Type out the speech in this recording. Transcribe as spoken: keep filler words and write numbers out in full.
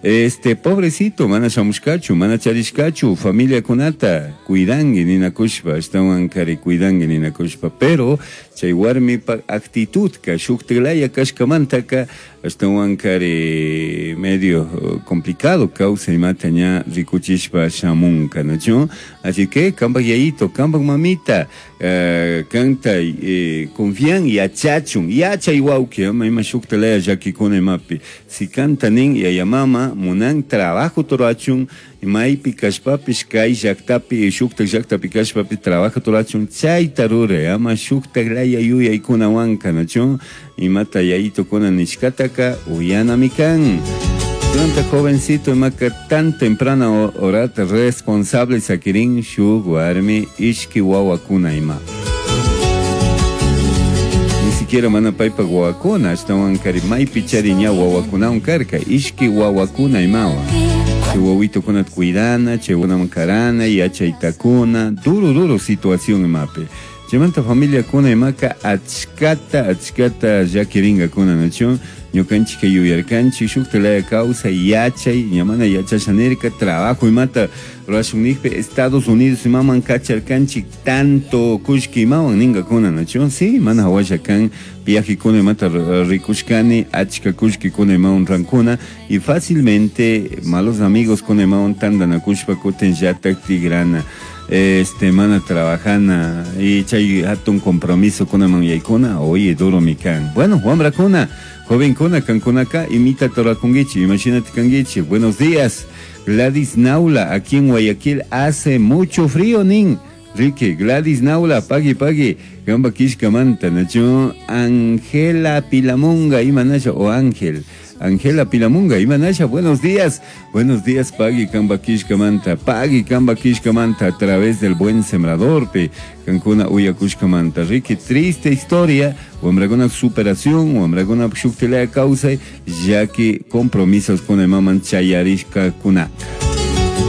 Este pobrecito mana shamushkachu, mana charishkachu, familiakunata cuidangi ninakushpa, ashtawankari cuidangi ninakushpa, pero chay warmipa actitudka shuktilaya kashkamantaka ashtawankari medio complicado kawsay imata ña rikuchishpa shamunka, ¿no? Así que kampak yayito, kampak mamita, eh, kanta eh, confian yachachun, yachay wawki, ama ima shuktilaya llakikuna imapi, si kanta nin yaya mama munan trabajo rurachun, maypi kashpapish kay llaktapi shuktak llaktapi kashpapi trabajo rurachun, chayta ruray, ama shuktak laya yuyaykunawanka, ¿no? Imata yayitokuna nishkataka uyanami kan. Tanta jovencito imaka tan temprana horata responsable sakirin shuk warmi ishki wawakuna ima. Ni siquiera mana paypa wawakuna, ashtawankari maypi chari ña wawakunawan karka, ishki wawakuna imawan. Chay wawitokunata cuidana, chay wawakunaman karana, yachaytakuna, duro duro situación imapi. Chaymanta familiakuna imaka achkata achkata llakiringakuna, ¿no? Ñukanchik yuyarkanchik shuktalaya kawsay yachay, ña mana yachasha nirka, trabajo imata rurashun nijpi Estados Unidos imaman kacharkanchik tanto kullki imawan ninkakuna, ¿no? Sí, mana hawasha kan viajekuna imata rikushkani, achka kullkikuna imawan rankuna y fácilmente malos amigos kuna imawan tantanakushpa kutin llatak tigrana. Este, mana trabajana y chay hatun compromiso kunaman yaykuna, oye, duro mi kan. Bueno, wambrakuna, jovenkuna, kankunaka, imita torakunguichi, imagínate kanguichi. Buenos días, Gladys Naula, aquí en Guayaquil hace mucho frío, nin. Ricky, Gladys Naula, pagui, pagui, gamba kishkamanta, nacho, Angela Pilamunga, imanasha, o Ángel. Angela Pilamunga, imanasha, buenos días. Buenos días, pagui kamba kishkamanta, pagui kamba kishkamanta, a través del buen sembrador, pe, kankuna uyakushkamanta. Ricky, triste historia, wamrakuna superación, wamrakuna shuktilaya kawsay, ya que compromisos con el maman chayarishka kuna.